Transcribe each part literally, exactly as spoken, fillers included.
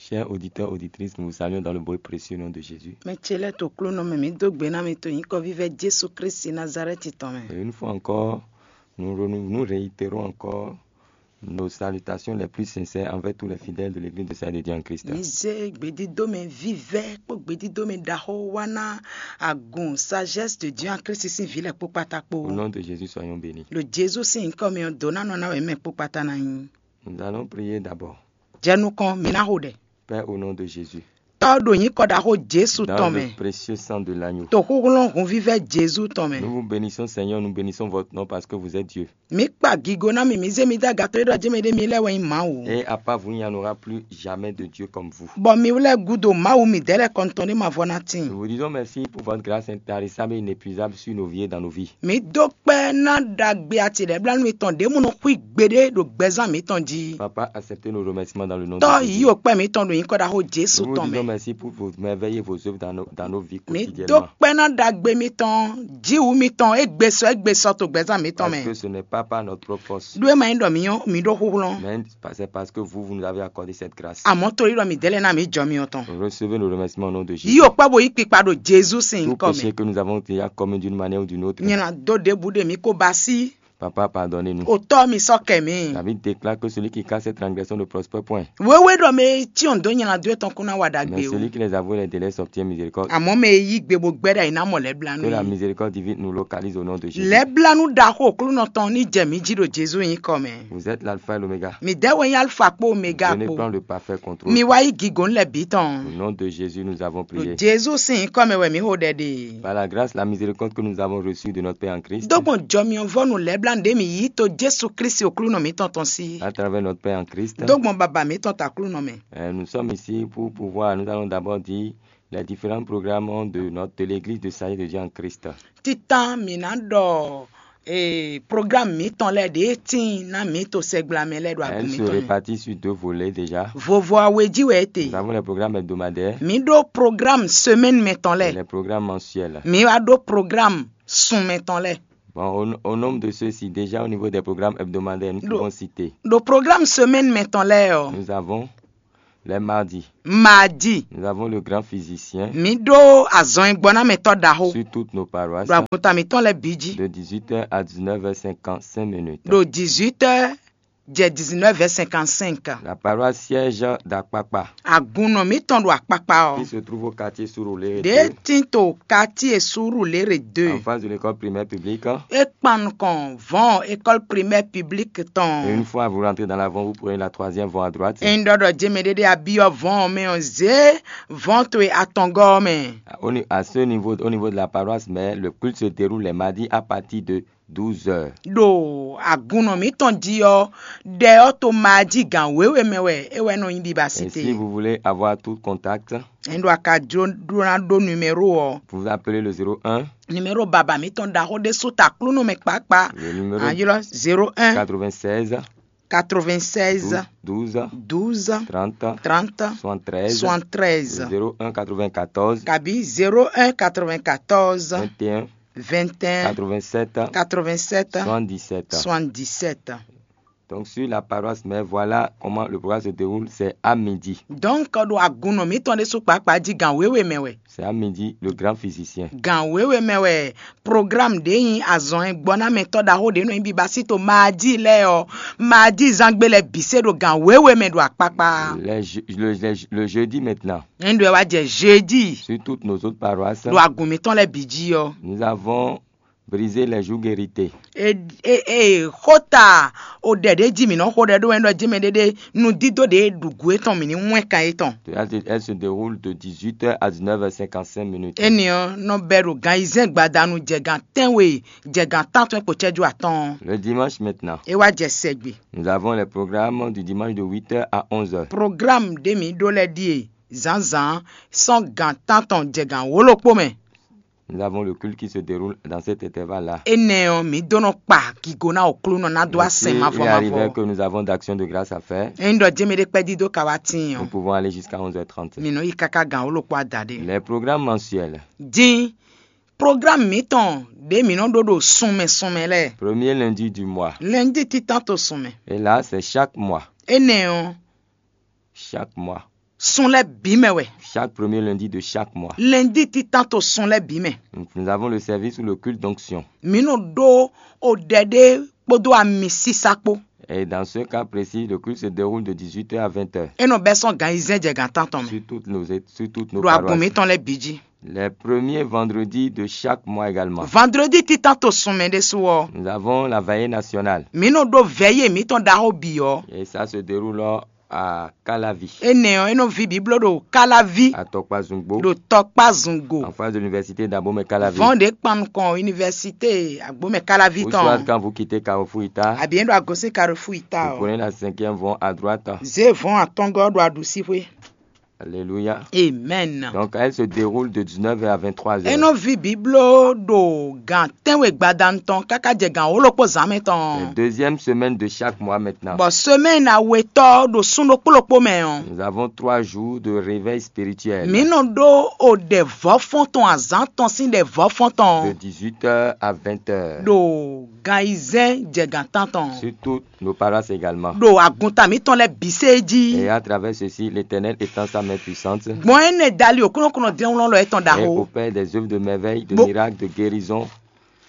Chers auditeurs, auditrices, nous vous saluons dans le beau et précieux nom de Jésus. Mɛ ce lɛ́ɛ to klónɔ mɛ, mǐ dó gbe ná mi to nyǐkɔ vívɛ́ Jesu Kristi Nazalɛ́ti tɔn mɛ. Et une fois encore, nous, renou- nous réitérons encore nos salutations les plus sincères envers tous les fidèles de l'église de Salut de Dieu en Christ. Mǐ zé gbedídómɛ vívɛ́ kpó gbedídómɛ ɖaxó wá ná agun sagesse de Dieu en Christ sín vǐ lɛ́ɛ kpó kpátákpó. Au nom de Jésus, soyons bénis. Ɖo Jezu sín nyǐkɔ mɛ ɔ́, dǒ ná nɔ ná wɛ mɛ kpó kpátá ná nyí. Nous allons prier d'abord. Jɛ nukɔn, mǐ ná xo ɖɛ. Père, au nom de Jésus. Tɔ́ ɖo nyǐkɔ ɖaxó Jezu tɔn mɛ. Dans le précieux sang de l'agneau. To xúxlɔ́n hunvívɛ́ Jezu tɔn mɛ. Nous vous bénissons, Seigneur, nous bénissons votre nom parce que vous êtes Dieu. Mǐ kpa gigo ná mi, mǐ zé mi dó agatɔ́ e ɖɔ jɛ́n mɛ ɖé mi lɛ́ wɛ nyí Mawu. Et à part vous, il n'y en aura plus jamais de Dieu comme vous. Bɔ mi lɛ́ gúdo Mawu midɛɛ lɛ́ɛ kɔn tɔn ɖé ma vɔ ná tíin. Nous vous disons merci pour votre grâce intarissable et inépuisable sur nos vies et dans nos vies. Mǐ dó kpɛ́ ná ɖagbe ati lɛ́ɛ blánú mitɔn ɖěbǔ nɔ xwí gbeɖé ɖo gbɛzán mǐtɔn jí. Papa, acceptez nos remerciements dans le nom de Jésus. Tɔ́ yí o kpɛ́ mǐtɔn ɖo nyǐkɔ ɖaxó Jezu tɔn mɛ. Nous vous disons merci pour vos merveilles et vos œuvres dans nos, dans nos vies quotidiennement. Mǐ dó kpɛ́ ná ɖagbe mitɔn, jǐwǔ mitɔn, égbé sɔ égbé sɔ to gbɛzán mítɔn mɛ. Parce que ce n'est pas par notre propre force. Ɖó é ma nyí ɖɔ mǐ nyɔ́ mǐ ɖó xúxlɔ́n. Mais c'est parce que vous, vous nous avez accordé cette grâce. Àmọ́ torí ɖɔ mǐ dɛ́ lɛ́ɛ ná mǐ jɔ myɔ tɔn. Recevez nos remerciements au nom de Jésus. Yí o kpɛ́ bo yí kpikpa ɖo Jezu sín nyǐkɔ mɛ. Tout péché que nous avons déjà commis d'une manière ou d'une autre. Nyɛ ná dó ɖěbǔ ɖe mǐ ko ba sí. Papa, pardonnez-nous. O tɔ́ mi sɔ́ kɛ mǐ. La Bible déclare que celui qui cache ses transgressions ne prospère point. Wéwé ɖɔ mɛ e cyɔ́n dó nyɛ ná dó etɔn kún ná wa ɖagbe o. Mais celui qui les avoue les délais obtient miséricorde. Àmọ́ mɛ e yí gbe bó gbɛ́ ɖa yi ná mɔ lɛ́blánú. Que la miséricorde divine nous localise au nom de Jésus. Lɛ́blánú ɖaxó Aklúnɔ tɔn ní jɛ mǐ jí ɖo Jezu nyǐkɔ mɛ. Vous êtes l'alpha et l'oméga. Mi dɛ́ wɛ nyí Alfa kpó Omega kpó. Venez prendre le parfait contrôle. Mi wá yí gǐgɔ̌n lɛ́ɛ bǐ tɔn. Au nom de Jésus, nous avons prié. Ɖo Jezu sín nyǐkɔ mɛ wɛ mǐ xo ɖɛ ɖe. Par la grâce, la miséricorde que nous avons reçue de notre Père en Christ. Dó gbɔn jɔmyɔvɔ́nu lɛ́blánú ɖé mǐ yí to Jezu Klísu Aklúnɔ mǐtɔn tɔn sí. À travers notre Père en Christ. Dó gbɔn Baba mǐtɔn ta Aklúnɔ mɛ. Euh, nous sommes ici pour pouvoir, nous allons d'abord dire les différents programmes de notre, de l'église de Salut de Dieu en Christ. Títán mǐ ná ɖɔ ee programme mǐtɔn lɛ́ɛ ɖě tíin ná mǐ to sɛgbla mɛ lɛ́ɛ ɖo agun mǐtɔn. Elle se répartit sur deux volets déjà. Vovo awe jí wɛ é te. Nous avons les programmes hebdomadaires. Mǐ ɖó programme semaine mɛtɔn lɛ́ɛ. Et les programmes mensuels. Mǐ wá ɖó programme sun mɛtɔn lɛ́ɛ. Bon, au, au nombre de ceux-ci, déjà au niveau des programmes hebdomadaires, nous pouvons citer. Ɖo programme semaine mɛtɔn lɛ́ɛ ɔ́. Nous avons les mardis. Mardi. Nous avons le grand physicien. Mǐ ɖó azɔn e gbɔ ná mɛtɔ́ ɖaxó. Sur toutes nos paroisses. Ɖo agunta mǐtɔn lɛ́ɛ bǐ jí. De dix-huit heures à dix-neuf heures cinquante-cinq minutes. Ɖo dix-huit heures jɛ dix-neuf heures cinquante-cinq. La paroisse siège d'Akpakpa. Agunnɔ mǐtɔn ɖo Akpakpa ɔ́. Qui se trouve au quartier Surulere. Ɖě tín to quartier Surulere deux. En face de l'école primaire publique. É kpan nukɔn vɔ̌n école primaire publique tɔn. Et une fois vous rentrez dans l'avant, vous prenez la troisième voie à droite. Ényí ɖɔ ɖɔ jɛmɛ ɖé ɖé abyɔ́ vɔ̌n ɔ́ mɛ ɔ́, zě vɔ̌n towe atɔngɔ́ ɔ́ mɛ. Au ni-, à ce niveau, au niveau de la paroisse, mais le culte se déroule les mardis à partir de douze heures. Ɖo agunnɔ mǐtɔn jí ɔ́, ɖɛ ɔ́ to ma jí gǎn wěwe mɛ wɛ é wɛ nɔ nyí biba. Et si vous voulez avoir tout contact, ényí ɖo a ka jló ɖó ná ɖó numéro ɔ́, vous appelez le zéro un. Numéro baba mǐtɔn ɖaxó ɖésú ta Aklúnɔ mɛ kpákpá. Le numéro a ylɔ́ zéro un quatre-vingt-seize quatre-vingt-seize douze douze trente trente soixante-treize. Soixante-treize. Zéro un quatre-vingt-quatorze kabí zéro un quatre-vingt-quatorze vingt et un vingt et un quatre-vingt-sept quatre-vingt-sept soixante-dix-sept. Soixante-dix-sept. Donc sur la paroisse, mais voilà comment le programme se déroule, c'est à midi. Donc ɖo agunnɔ mǐtɔn ɖésú kpákpá jí gǎn wěwe mɛ wɛ. C'est à midi, le grand physicien. Gǎn wěwe mɛ wɛ programme ɖě nyí azɔn e gbɔ ná mɛtɔ́ ɖaxó ɖě nɔ nyí biba sí to maadi lɛ́ɛ ɔ́, maadi zangbe lɛ́ɛ bǐ se ɖo gǎn wěwe mɛ ɖo akpakpa. Les je- le, les- le jeudi maintenant, Ényí ɖɔ ɛ wá jɛ jeudi sur toutes nos autres paroisses, ɖo agun mǐtɔn lɛ́ɛ bǐ jí ɔ́, nous avons brisé les jours guérités. E e e xota o ɖɛ ɖě jí mǐ nɔ xo ɖɛ ɖó wɛ ɖɔ jɛmɛ ɖé ɖé nudídó ɖě ɖu gǔ étɔn mǐ ní wɛn kan étɔn. Elle se, elle se déroule de dix-huit heures à dix-neuf heures cinquante-cinq minutes. Énɛ́ ɔ́ nɔ bɛ́ ɖo gan ayizɛ́n gbadanu jɛ gan tɛ́nwe jɛ gan tántɔn kpo cɛ́jú atɔ́ɔ́n. Le dimanche maintenant, É wá jɛ sɛgbe. Nous avons les programmes du dimanche de huit heures à onze heures. Programme ɖé mǐ ɖó lɛ́ɛ ɖíe zǎnzǎn sɔ́ gan tántɔn jɛ gan wǒlokpó mɛ. Nous avons le culte qui se déroule dans cet intervalle-là. Énɛ́ ɔ́, mǐ dó nɔ kpa gigo ná Aklúnɔ ná dó asɛn mavɔ mavɔ. Arrivé que nous avons d'action de grâce à faire, Ényí ɖɔ jɛmɛ ɖé kpɛ́ dídó ka wá tíin ɔ́, nous pouvons aller jusqu'à onze heures trente. Mǐ nɔ yi káká gan wǒlokpó adaɖé. Les programmes mensuels. Dín programme mǐtɔn ɖě mǐ nɔ ɖó ɖo sunmɛ sunmɛ lɛ́ɛ. Premier lundi du mois. Lundi títán to sunmɛ. Et là, c'est chaque mois. Énɛ́ ɔ́, Chaque mois. Sun lɛ́ɛ bǐ mɛ wɛ. Chaque premier lundi de chaque mois, Lɛndí títán to sun lɛ́ɛ bǐ mɛ. Nous avons le service ou le culte d'onction. Mǐ nɔ ɖó oɖɛ ɖé kpódó ami sísá kpó. Et dans ce cas précis, le culte se déroule de dix-huit heures à vingt heures. É nɔ bɛ́ sɔ́ gan ayizɛ́n jɛ gan tántɔn mɛ. Sur toutes nos, sur toutes nos Ɖo agun paroisses. Mǐtɔn lɛ́ɛ bǐ jí. Les premiers vendredis de chaque mois également. Vandredi títán to sun mɛ ɖésú ɔ́, Nous avons la veillée nationale. Mǐ nɔ ɖó vɛ̌yi mǐtɔn ɖaxó bǐ ɔ́. Et ça se déroule à Calavi. Énɛ́ ɔ́, é nɔ ví bǐ bló ɖo Káláví, À Tɔkpazungbo, ɖo tɔkpá zungo, En face de l'université d'Abomey Calavi. Vɔn ɖě kpan nukɔn univɛsité Agbomɛ Káláví. Ou soit tɔn. Quand vous quittez Carrefour Ita, Àbí é ɖo agosín Carrefour Ita. Vous Ɔ, prenez la cinquième voie à droite. Zé vɔn atɔngɔ́ ɖo aɖusíxwé. Alléluia. Amen. Donc, elle se déroule de dix-neuf heures à vingt-trois heures. É nɔ ví bǐbló ɖo gan tɛ́nwe gbadanu tɔn káká jɛ gan wǒ-ɖokpó zǎn mɛ tɔn. La deuxième semaine de chaque mois maintenant. Bɔ semɛ́ni awetɔ́ ɖo sún ɖokpó ɖokpó mɛ ɔ́, Nous avons trois jours de réveil spirituel. Mǐ nɔ ɖó o ɖɛ vɔ̌fɔ́n tɔn azǎn tɔn sín ɖɛ vɔ̌fɔ́n tɔn. De dix-huit heures à vingt heures. Ɖo gan ayizɛ́n jɛ gan tántɔn. Surtout nos paroisses également. Ɖo agunta mǐtɔn lɛ́ɛ bǐ sé jí. Et à travers ceci, l'Éternel étend sa main puissante. Gbɔn énɛ́ dali o kúnɔkúnɔ dínlɔ́nlɔ́ yětɔn Et ɖaxó. Opère des œuvres de merveille, de Bo- miracles, de guérison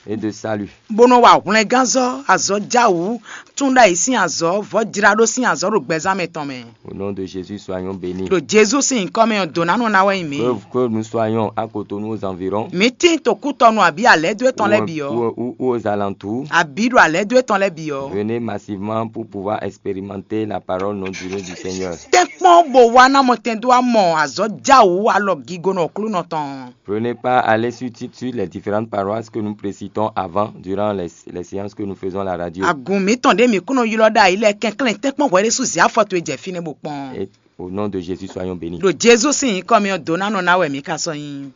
et de salut. Bó nɔ wa hwlɛngánzɔ́, azɔ̌ jáwǔ, tún ɖ'ayǐ sín azɔ̌, vɔ̌ jláɖó sín azɔ̌ ɖo gbɛzán mɛ tɔn mɛ. Au nom de Jésus, soyons bénis. Ɖo Jezu sín nyǐkɔ mɛ ɔ́, dǒ ná nɔ ná wɛ nyí mǐ. Que, que nous soyons à Cotonou, aux environs, Mǐ tín to kútɔnu abǐ alɛ̌dó étɔn lɛ́ɛ bǐ ɔ́, ou, ou aux alentours, abǐ ɖo alɛ̌dó étɔn lɛ́ɛ bǐ ɔ́. Venez massivement pour pouvoir expérimenter la parole non durée du Seigneur. Tɛ́nkpɔ́n bó wá ná mɔtɛn dó wá mɔ azɔ̌ jáwǔ alɔ gigonɔ Aklúnɔ tɔn. Prenez part à l'institut sur les différentes paroisses que nous précitons avant, durant les, les séances que nous faisons à la radio. Agun mǐtɔn ɖě mǐ kún nɔ ylɔ́ ɖ'ayǐ lɛ́ɛ kɛnklɛ́n tɛ́nkpɔ́n hwɛɖésú zě afɔ towe jɛ fínɛ́ bó kpɔ́n. Et au nom de Jésus, soyons bénis. Ɖo Jezu sín nyǐkɔ mɛ ɔ́, dǒ ná nɔ ná wɛ mǐ ka sɔ́ nyí.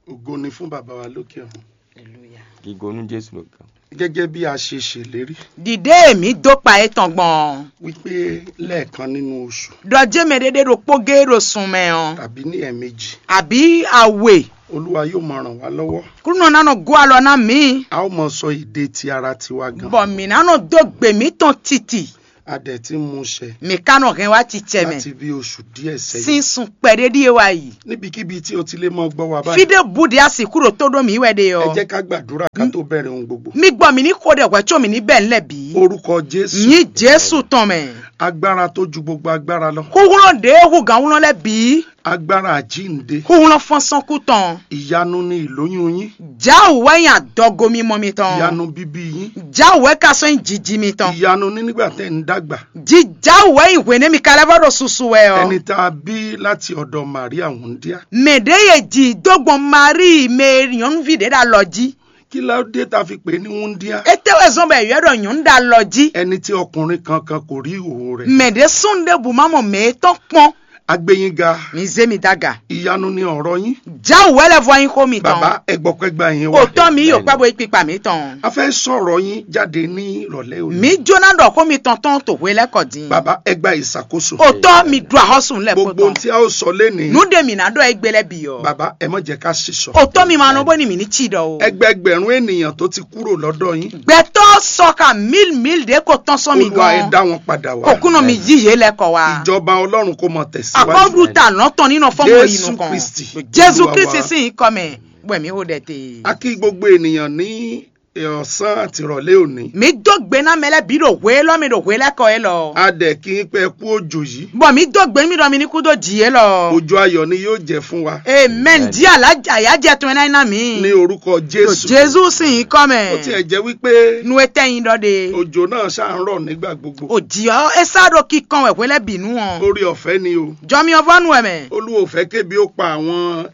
Ògo ni fún Baba wa lókè ọ̀run. Hallelujah. Gígo nú Jésù ló kàn. Gẹ́gẹ́ bí a ṣe ṣèlérí. Ɖiɖe mǐ dó kpa étɔn gbɔn. Wípé lẹ́ẹ̀kan nínú oṣù. Ɖɔ jé mɛ ɖé ɖé ɖokpó géé ɖo sun mɛ ɔ́. Tàbí ní ẹ̀ẹ̀mejì. Àbí awe. Olúwa yóò máa ràn wá lọ́wọ́. Kúnɔ ná nɔ gó alɔ ná mǐ. A ó mọ sọ èdè ti ara tiwa gan. Bɔ mǐ ná nɔ dó gbe mǐtɔn titi. A dẹ̀ ti mú ṣẹ. Mǐ ka nɔ hɛn wá cicɛ mɛ. Láti bí oṣù díẹ̀ sẹ́yìn. Sín sun kpɛɖé ɖíe wá yi. Níbikíbi tí o ti lè mọ gbọ́ wa báyìí. Fídé búdìí a sìkú ɖo tó ɖó mǐ wɛ ɖe ɔ́. Ẹ jẹ́ ká gbàdúrà ká tó bẹ̀rẹ̀ ohun gbogbo. Mí gbọ́ mǐ ní xo ɖɛ hwɛ̌ có mǐ ní bɛ́ nǔ lɛ́ɛ bǐ. Orúkọ Jésù. Nyí Jésù tɔn mɛ. Agbára tó ju gbogbo agbára lọ. Xúxlɔ́n ɖě hú gǎnwlɔ́n lɛ́ɛ bǐ. Agbára àjíǹde. Xúxlɔ́n fɔ́nsɔ́nkú tɔn. Ìyanu ni ìlóyún yín. Jáwǔ wɛ nyí adɔgo mímɔ mitɔn. Ìyanu bíbí yín. Jáwǔ wɛ ka sɔ́ nyí jiji mitɔn. Ìyanu ni nígbà tẹ́ ń dàgbà. Jíjáwǔ wɛ nyí hwěnɛ́ mi ka lɛ́ vɔ ɖo susu wɛ ɔ́. Ẹni tá a bí láti ọ̀dọ̀ Màríà wúndíá. Mɛ ɖě ye ji dó gbɔn Maríi mɛ e nyɔ̌nuví ɖě ɖo alɔ jí. Kí ló dé tá a fi pè é ní wúndíá? Étɛ́ wɛ zɔ́n bɔ è ylɔ́ ɖɔ nyɔ̌nu ɖo alɔ jí? Ẹni tí ọkùnrin kankan kò rí ìhòòhò rẹ̀. Mɛ ɖě súnnu ɖěbǔ má mɔ mɛ e tɔn kpɔ́n. A gbé yín ga. Mi zé mi dó aga. Ìyanu ni ọ̀rọ̀ yín. Jáwǔ wɛ lɛ́ vɔ nyí xó mitɔn. Bàbá, ẹ gbọ́ pẹ́ gbá yín wá. Òtɔ́ mi yóò kpá bo yí kpikpa mǐtɔn. A fẹ́ sọ̀rọ̀ yín jáde ní ìrọ̀lẹ́ òní. Mǐ jóná ɖɔ xó mitɔn tɔn to hwe lɛ́ɛ kɔ din. Bàbá, ẹ gba ìṣàkóso. Òtɔ́ mi ɖu axɔ́sùn lɛ́ɛ Gbogbo kpótɔn. Ohun tí a ó sọ lénìí. Nǔ ɖe mǐ ná ɖɔ égbé lɛ́ɛ bǐ ɔ́. Bàbá, ẹ má jẹ́ ká ṣe sọ. Òtó mi ma nɔ bó ni mǐ ní cí ɖɔ o. Ẹgbẹẹgbẹ̀rún ènìyàn tó ti kúrò lọ́dọ̀ yín. Gbɛtɔ́ sɔ ka mil mil ɖě ko tɔn sɔ́ mi Olúwa ẹ gɔ́n. Dá wọn padà wá. Òkúnɔ mi yí yé lɛ kɔ wá. Ìjọba Ọlọ́run kó máa tẹ̀síwájú. Akɔ́ɖu ta nɔ tɔn nínú fɔ́n mɔ yi Jésù nukɔn. Kristi, Jésù Olúwa Kristi wa. Sín nyǐkɔ mɛ, wɛ mǐ ho ɖɛ te. A kí gbogbo ènìyàn ní ọ̀sán àti ìrọ̀lẹ́ òní. Mǐ dó gbe ná mɛ lɛ́ɛ bǐ ɖo hwe élɔ́ mɛ ɖo hwe lɛ́ɛ kɔ élɔ́. A dẹ̀ kí yín pé ẹ kú òjò yìí. Bɔ mǐ dó gbe nú mi ɖɔ mi ní kú dó jǐ élɔ́. Òjò ayọ̀ ni yóò jẹ́ fún wa. Amen. Jí àlájà yá jẹ tún ẹ ná ná mǐ. Ní orúkọ Jésù. Jésù sín nyǐkɔ mɛ. Ó tiẹ̀ jẹ́ wípé Nu etɛ́ nyi ɖɔ ɖe. Òjò náà ṣáà ń rọ̀ nígbà gbogbo. Òjì ɔ́, é sá ɖo kíkan wɛ hwe lɛ́ɛ bǐ nu ɔ́. Orí ọ̀fẹ́ ni o. Jɔmi ɔ́ vɔ nu wɛ mɛ. Olúwo fẹ́ kébi ó pa àwọn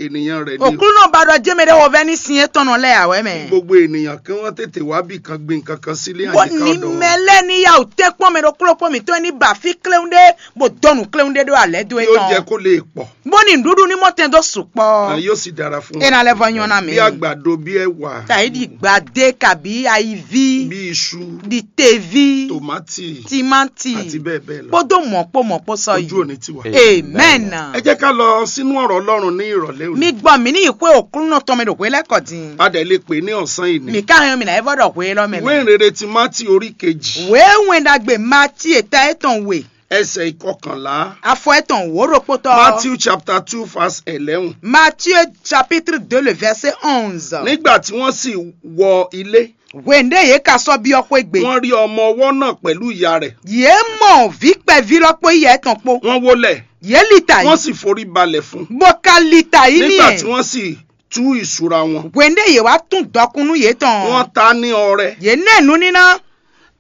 ènìyàn rẹ̀ ni o. Òkúlù náà ba ɖɔ jémɛ ɖé wovɛ́ ní sin étɔn nɔ lɛ́ɛ ǎ wɛ mɛ. Gbogbo ènìyàn kí wọ́n tètè wá bì kan gbin kankan sílé Bó àyíká ní ọ̀dọ̀ wọn. Mɛ lɛ́ɛ ní yá wǔ tɛ́nkpɔ́n mɛ ɖokpló kpó mǐtɔn ní ba fí kléwún ɖé, bó dó nǔ kléwún ɖé ɖó alɛ̌ dó é Yóò tɔn. Jẹ́ kó lè pọ̀. Bó ní nǔɖuɖu ní mɔ tɛn dó sukpɔ́. Ẹ yóò sì dára fún wọn. É ná lɛ́ vɔ nyɔ́ ná mì. Bí àgbàdo, bí ẹ̀wà. Tàyí ɖi gbadé kabí ayiví. Bí iṣu. Ɖi teví. Tòmátì. Timáti. Àti bẹ́ẹ̀ bẹ́ẹ̀ lọ. Kpódó mɔ̌ kpó mɔ̌ kpó sɔ yìí. Ojú ò ní tì wá. Amen. Ẹ jẹ́ ká lọ sínú ọ̀rọ̀ Ọlọ́run ní ìrọ̀lẹ́ òní. Mi gbọ́ mi ní ìwé Òkúnú tɔn mi ɖo hwe lɛ́ kɔ din. A dẹ̀ lè pè é ní ọ̀sán yìí ni. Mi ká hɛn mi ná é vɔ ɖɔ hwe lɔ mɛ. Ìwé ìrere ti Mátì orí kejì. Wěwɛn ɖagbe Mati èta étɔn we. Ẹsẹ̀ ìkọkànlá. Afɔ etɔn wǒ ɖokpotɔ. Matthew chapter two verse eleven. Matthieu chapitre deux, le verset onze. Nígbà tí wọ́n sì wọ ilé, Hwende yě ka sɔ́ byɔ́ xwé gbe. Wọ́n rí ọmọ ọwọ́ náà pẹ̀lú ìyá rẹ̀. Yě mɔ vǐ kpɛví lɔ kpó yɛ tɔn kpó. Wọ́n wólẹ̀, Yě li ta wọ́n yí. Sì forí balẹ̀ fún un. Bó ka li ta yí n'i Nígbà tí ɛ. Wọ́n sì tú ìṣúra wọn, Hwende yě wá tún dɔkun nú yě tɔn. Wọ́n ta ní ọrẹ, Yě nɛ nǔníná.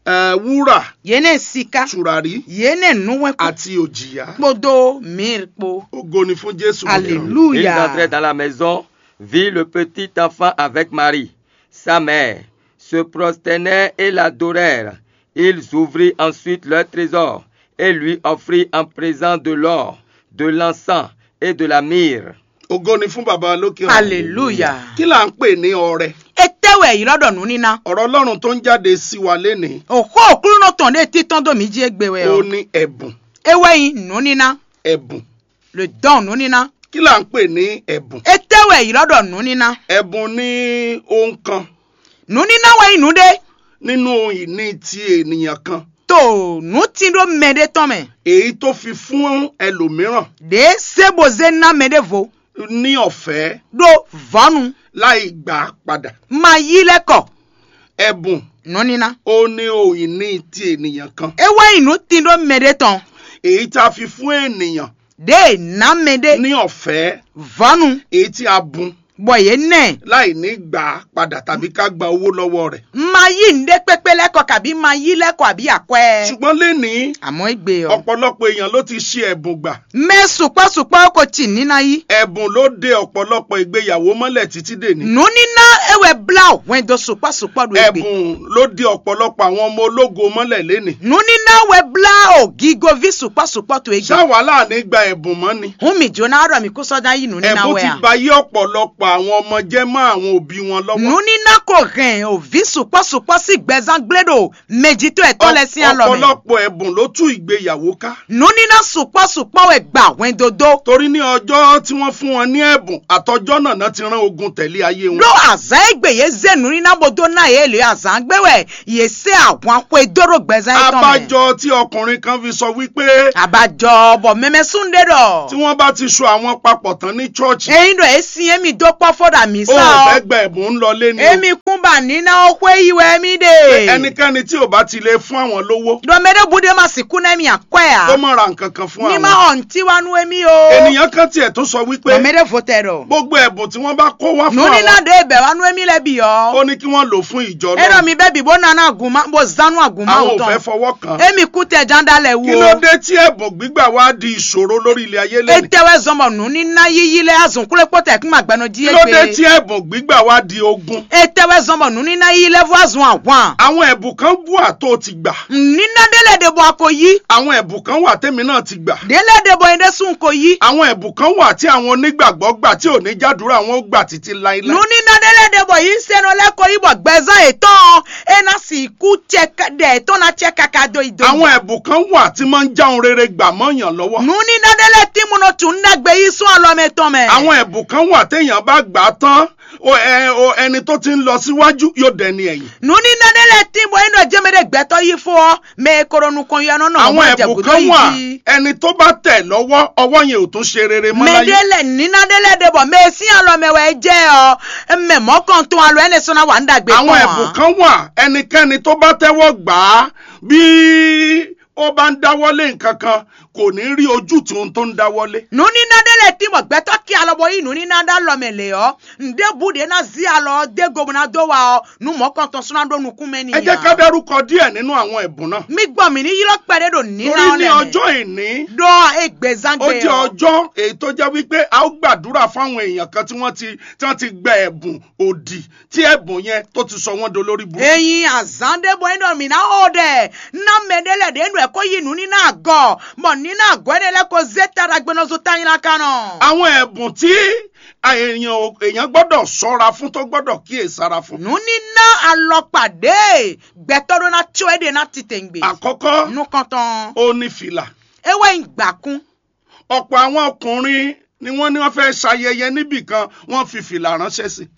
eh, wúrà, Yě nɛ sika. Tùràrí, Yě nɛ nǔwɛ́nkú àti òjìyá. Kpódó mǐr kpó. Ògo ni fún Jésù. Alléluia. Ils entrèrent dans la maison, virent le petit enfant avec Marie, sa mère, se prosternèrent et l'adorèrent. Ils ouvrirent ensuite leur trésor et lui offrirent en présent de l'or, de l'encens et de la myrrhe. Ògo ni fún bàbá lókè ọ̀run. Alléluia. Kí là ń pè ní ọrẹ? Etɛ́ wɛ yǐ lɔ ɖɔ nǔníná. Ọ̀rọ̀ Ọlọ́run tó ń jáde sí wa lénìí. Òxó òklúnɔ tɔn ɖé títɔn dó mǐ jí égbé wɛ Ó ɔ. Ní ẹ̀bùn. É wɛ nyí nǔníná. Ẹ̀bùn. Le dɔn nǔníná. Kí là ń pè ní ẹ̀bùn? Etɛ́ wɛ yǐ lɔ ɖɔ nǔníná. Ẹ̀bùn ní ohun kan. Nǔníná wɛ nyí nǔɖé. Nínú ohun ìní ti ènìyàn kan. To nǔ tín ɖó mɛɖé tɔn mɛ. Èyí tó fi fún ẹlòmíràn. Ɖě sébozé ná mɛɖěvo. Ní ọ̀fẹ́. Ɖó vɔ̌nu. Láì gbà á padà. Ma yí lɛ́ kɔ. Ẹ̀bùn. Nǔníná. Ó ní ohun ìní ti ènìyàn kan. É wɛ nyí nǔ tín ɖó mɛɖé tɔn. Èyí tá a fi fún ènìyàn. Ɖě ná mɛɖé. Ní ọ̀fẹ́. Vɔ̌nu. Èyí tí a bun. Bɔ yě nɛ. Láì ní gbà á padà tàbí ká gba owó lọ́wọ́ rẹ̀. Ma yí nǔɖé kpékpé lɛ́ kɔ kàbí ma yí lɛ́ kɔ àbí akwɛ́. Ṣùgbọ́n lénìí, Àmọ́ égbé ɔ. Ọ̀pọ̀lọpọ̀ èèyàn ló ti ṣe ẹ̀bùn gbà. Mɛ sukpɔ́ sukpɔ́ ko ci nínà yí. Ẹ̀bùn ló de ọ̀pọ̀lọpọ̀ ìgbéyàwó mọ́lẹ̀ títí dèní. Nǔníná é wɛ blá hwɛndo sukpɔ́ sukpɔ́ ɖo égbé. Ẹ̀bùn ló de ọ̀pọ̀lọpọ̀ àwọn ọmọ ológo mọ́lẹ̀ lénìí. Nǔníná wɛ blá ògígoví sukpɔ́ sukpɔ́ to égbé. Ṣáwa láàánú gba ẹ̀bùn mọ́ ni? Hún mi jóná ɖɔ mi kú sɔ́ ná yí nǔníná Ẹ̀bùn wɛ ti a. ba yí ọ̀pọ̀lọpọ̀ àwọn ọmọ jẹ́ mọ́ àwọn òbí wọn lọ́wọ́. Nǔníná ko hɛn òví sukpɔ́ sukpɔ́ sí gbɛzán gblé ɖo mɛjitɔ́ ɛtɔn lɛ́ɛ sín alɔ mɛ. Ọ̀pọ̀lọpọ̀ ẹ̀bùn ló tú ìgbéyàwó ká. Nǔníná sukpɔ́ sukpɔ́ wɛ gba hwɛndo dó. Torí ní ọjọ́ tí wọ́n fún wọn ní ẹ̀bùn, àtọjọ́ náà náà ti rán ogun tẹ̀lé ayé wọn. Ɖó azǎn e gbe yě zé nǔníná bó dó ná yě lě azǎn gbé wɛ yě sɛ́ ahwan xwedó ɖo gbɛzán yětɔn mɛ. Abájọ tí ọkùnrin kan fi sọ wípé Abájọ bɔ mɛmɛsún ɖé ɖɔ. Tí wọ́n bá ti so àwọn papọ̀ tán ní chọ́ọ̀chì, Eyín ɖɔ é sin émi dó kpɔ́ fó ɖo amǐ ó sá ò fẹ́ ɔ. Gba ẹ̀bùn ń lọ lé ní. Émi kún bá níná ó xwé yi wɛ émi ɖe. Ẹnikẹ́ni tí ò bá ti lè fún àwọn lówó, Ɖɔ mɛ ɖé bu ɖé ma sixú ná émi akwɛ́ kó a. má ra nǹkan kan fún Ní má àwọn. ɔn tí wá nú émi o. Ènìyàn kan tiẹ̀ tún sọ Ɖɔ wípé mɛ ɖé vo tɛ ɖɔ. Gbogbo ẹ̀bùn tí wọ́n bá kó wá fún Nǔníná àwọn, ɖé bɛ́ wá nú émi lɛ́ bǐ ó ɔ. Ní kí wọ́n lò fún ìjọ É ɖɔ náà. Mi bɛ́ bǐ bó ná ná agǔn má bó zán nú agǔn má Àwọn ò fẹ́ tɔn. Fọwọ́ kàn. Émi kú tɛ ján ɖá lɛ wú Kí ló o. Dé tí ẹ̀bùn gbígbà wá di ìṣòro lórí ilẹ̀ ayé lẹ́nu? Etɛ wɛ zɔn bɔ nǔníná yíyí lɛ azɔn kúlé kpó tɛ kún agbɛnɔ jí Kí ló dé égbé. Tí ẹ̀bùn gbígbà wá di ogun? Etɛ wɛ zɔn bɔ nǔníná yíyí lɛ vɔ azɔn ahwan. Àwọn ẹ̀bùn kan wà tó o ti gbà. Nǔníná ɖé lɛ ɖe bɔ a ko yí. Àwọn ẹ̀bùn kan wà tèmi náà ti gbà. Ɖé lɛ ɖe bɔ nyɛ ɖésú ko yí. Àwọn ẹ̀bùn kan wà tí àwọn onígbàgbọ́ gbà tí ò ní jádùúrà wọn ó gbà títí láíláí. Nǔníná ɖé lɛ ɖe bɔ yí sɛnɔ lɛ ko yí bɔ gbɛzán yětɔn é ná sixú cɛ ká- ɖɛ yětɔn ná cɛ káká dó yi dó. Àwọn ẹ̀bùn kan wà tí máa ń já ohun rere gbà mọ́ yàn lọ́wọ́. Nǔníná ɖé lɛ tín mu nɔ tún ɖagbe yí sún alɔ mɛ tɔn mɛ. Àwọn ẹ̀bùn kan wà téèyàn bá gbà á tán, o, ẹ, o, ẹni tó ti ń lọ síwájú yóò dẹni ẹ̀yìn. Nǔníná ɖé lɛ tín bɔ é nɔ jẹ́ mɛ ɖé gbɛtɔ́ yí fó ɔ mɛ e ko ɖo nukɔn yɔ nɔ nɔ Àwọn mɔ ẹ̀bùn jɛgǔdó kan yí wà, jí. Ẹni tó bá tẹ̀ lọ́wọ́, ọwọ́ yẹn ò tún ṣe rere mọ́ Mɛ láyé. ɖé lɛ nǐná ɖé lɛ ɖe bɔ mɛ e sín alɔ mɛ wɛ é jɛ ɔ mɛ mɔ̌kɔntɔn alɔ ɛnɛ sɔ́ ná wa nú ɖagbe Àwọn kpɔn ẹ̀bùn ǎ. Kan wà, ẹnikẹ́ni tó bá tẹ́wọ́ gbà á, bí ó bá ń dáwọ́lé nǹkan kan, kò ní rí ojútùú ohun tó ń dáwọ́lé. Nǔníná ɖé lɛ tín bɔ gbɛtɔ́ kí alɔ bó yí nǔníná ɖó alɔ mɛ lě ɔ́, nǔɖébǔ ɖě ná zí alɔ ɔ́ dó go bó ná dó wa ɔ́, nǔ mɔ̌kɔntɔn sɔ́ ná ɖó nukún mɛ n'i. Ɛ jẹ́ ká dárúkɔ díẹ̀ nínú àwọn ẹ̀bùn náà. Mi gbɔ mǐ ní ylɔ́ kpɛɖé ɖo nǐná Torí ɔ́ ní lɛ́ mɛ. Ọjọ́ ìní, Ɖó égbezán ó gbe jẹ́ ɔ́. Ọjọ́ èyí tó jẹ́ wípé a ó gbàdúrà fáwọn èèyàn kan tí wọ́n ti tí wọ́n ti gba ẹ̀bùn òdì, tí ẹ̀bùn yẹn tó ti sọ wọ́n dolórí burúkú. Eyin azán ɖé bɔ é nɔ mǐ ná xo ɖɛ ná mɛ ɖé lɛ ɖě nɔ ɛ kó yí nǔ ní ná agɔ, bɔ ní ná agɔ énɛ́ lɛ́ ko zé ta ɖagbenɔzo tanyla kan nɔ. Àwọn ẹ̀bùn tí èèyàn ò- èèyàn gbọ́dọ̀ ṣọ́ra fún, tó gbọ́dọ̀ kíyèsára fún. Nǔníná alɔkpa ɖě gbɛtɔ́ ɖó ná có é ɖe ná titewungbe. Àkọ́kọ́, Nukɔntɔn, ó ní fìlà. é wɛ nyí gbǎkún. Ọ̀pọ̀ àwọn ọkùnrin ni wọ́n ní wọ́n fẹ́ ṣayẹyẹ níbì kan, wọ́n fi fìlà ránṣẹ́ sí.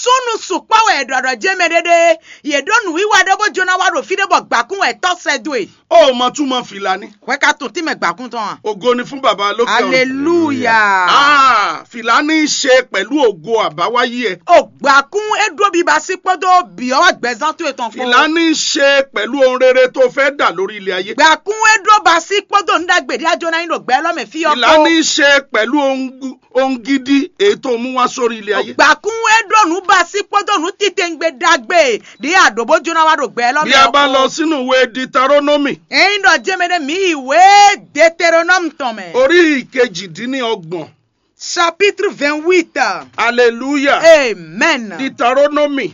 Súnnu sukpɔ́ wɛ è ɖɔ ɖɔ jɛ́n mɛ ɖé ɖé, yě ɖó nǔwiwa ɖé bó jló ná wá ɖo fí ɖé bɔ gbǎkún wɛ tɔ́ sɛ́ dó e. O mɔ túmọ̀ fìlà ní. Hwɛ ka tún tínmɛ gbǎkún tɔn a? Ògo ni fún baba lókè ọ̀run. Aleluya. Ah, fìlà ní í ṣe pẹ̀lú ògo àbáwáyé ẹ. O gbǎkún é ɖó biba sí kpódó bǐ ɔ́ wá gbɛzán towe tɔn kpó. Fìlà ní í ṣe pẹ̀lú ohun rere tó fẹ́ dà lórí ilé ayé. Gbǎkún é ɖó ba sí kpódó nǔ ɖagbe ɖé a jló ná nyí ɖo gbɛ élɔ́ mɛ fí ɔ́ kpó. Fìlà ní í ṣe pẹ̀lú ohun gú- ohun gidi èyí tó mú wá sórí ilé ayé. Gbǎkún é ɖó nǔ ba sí kpódó nǔ titewungbe ɖagbe ɖé a ɖǒ bó jló ná wá ɖo gbɛ élɔ́ mɛ. Bí a bá lọ sínú ìwé Deuteronomy. Ényí ɖɔ jɛ́n mɛ ɖé mǐ yi wě Deuteronome tɔn mɛ. Orí kejìdínlọ́gbọ̀n. Chapitre vingt-huit. Hallelujah. Amen. Deuteronomy.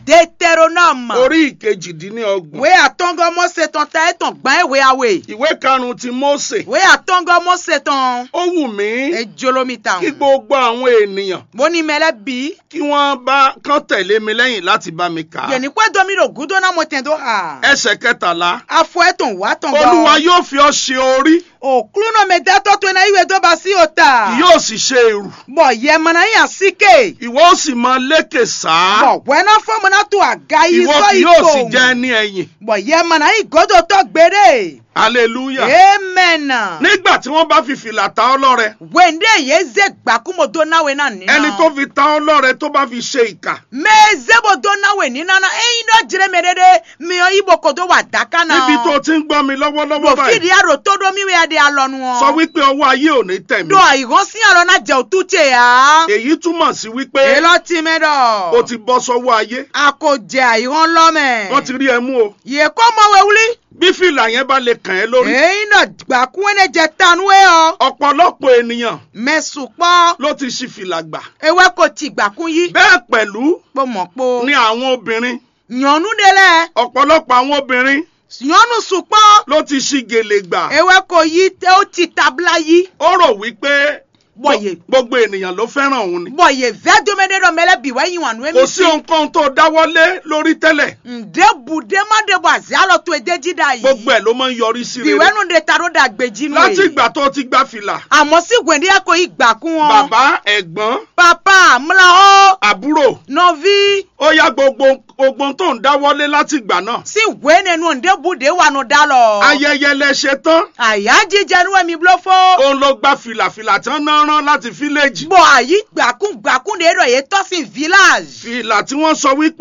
Deuteronome. Orí kejìdínlọ́gbọ̀n. Wě atɔngɔ́ Mose tɔn ta é tɔn gbán é hwe awe. Ìwé karùn-ún ti Mose. Wě atɔngɔ́ Mose tɔn. Ó wù mí É jló mì tawun. Kí gbogbo àwọn ènìyàn Bó ní mɛ lɛ́ɛ bǐ. Kí wọ́n bá kán tẹ̀lé mi lẹ́yìn láti bá mi kà á. Yě ní xwedó mì ɖo gúdo ná mɔtɛn dó xa. Ẹsẹ̀ kẹtàlá. Afɔ é tɔn wǎ tɔn Olúwa yóò fi ọ́ ṣe orí. Òklúnɔ mɛ dátɔ́ towe ná yí we dó ba sí o ta. Kì yóò sì ṣe èrù. Bɔ yɛ ma ná nyí asíké. Ìwọ ó sì máa lékè sá. Bɔ hwɛ ná fɔ mo ná to aga yi Ìwọ sɔ kì yi yóò sì kpowun. Jẹ́ ní ẹ̀yìn. Bɔ yɛ ma ná nyí gǒdotɔ gbeɖé. Hallelujah. Amen. Nígbà tí wọ́n bá fi fìlà ta ọ́ lọ́rẹ. Hwɛndé yě zé gbǎkúmɔ dó ná we ná nǐ. Ẹni tó fi ta ọ́ lọ́rẹ tó bá fi ṣe ìkà. Mɛ e zé bó dó ná we nǐ ná ná ényí ɖɔ jlé mɛ ɖé ɖé, mi ɔ́ yí bó ko dó wa dǎká ná. Níbi tó ti ń gbọ́ mi lọ́wọ́lọ́wọ́ báyìí. Bɔ fíɖí a ɖo tó ɖó mì wɛ a ɖe alɔnu ɔ́. Sọ wípé ọwọ́ ayé ò ní tẹ̀ mí. Ɖo ayǐhɔ́n sín alɔ ná jɛ wǔtú ce ǎ. Èyí túmọ̀ sí wípé. Élɔ́ ti mɛ ɖɔ. O ti bọ́ sọ́wọ́ ayé. A ko jɛ ayǐhɔ́n lɔ mɛ. Wọ́n ti rí ẹ mú o. Yě kó mɔ we wlí. Bí fìlà yẹn bá lè kàn ẹ́ lórí. Èyí nɔ gbàkún énɛ́ jɛ ta nú é ɔ́. Ọ̀pọ̀lọpọ̀ ènìyàn. Mɛ sukpɔ́. Ló ti ṣi fìlà gbà. Ewé kò tì gbàkún yí. Bẹ́ẹ̀ pẹ̀lú. Kpó mọ̀ kpó. Ni àwọn obìnrin. Nyɔ̌nu ɖé lɛ́ɛ. Ọ̀pọ̀lọpọ̀ àwọn obìnrin. Nyɔ̌nu sukpɔ́. Ló ti ṣi gèlè gbà. Ewé kò yí ó ti tabla yí. Ó rò wípé. Bɔ yě. Gbogbo ènìyàn ló fẹ́ràn òun ni. Bɔ yě vɛ́ dómɛɖé ɖɔ mɛ lɛ́ɛ bǐ wɛ yí wǎn nú émí. Kò sí ohun kan tó dáwọ́lé lórí tẹ́lẹ̀. Ǹdě bǔ ɖé má ɖe bɔ azě alɔ towe d'é jí ɖ'ayǐ. Gbogbo ẹ̀ ló máa ń yọrí sí rere. Bǐ wɛ nɔ ɖe ta ɖó ɖagbe jí nú. Láti ìgbà tó ti gba fìlà. Àmọ́ sí hwɛ̌ndí ɛ ko yí gbà kún ɔ́. Bàbá, ẹ̀gbọ́n. Papa, mla ɔ́. Àbúrò. Nɔví. Ó yá gbogbo ogbon tó ń dáwọ́lé láti ìgbà náà. Sí hwě nɛnu ǹdě bǔ ɖě wa nɔ ɖ'alɔ. Ayẹyẹ lẹ ṣe tán. Àyájíjẹ nú wɛ mi bló fó. Òun ló gba fìlàfìlà tí wọ́n ná rán láti fíléjì. Bɔ àyí gbàkún gbàkún ɖě ɖɔ yě tɔ́ sín village. Fìlà tí wọ́n sọ wípé.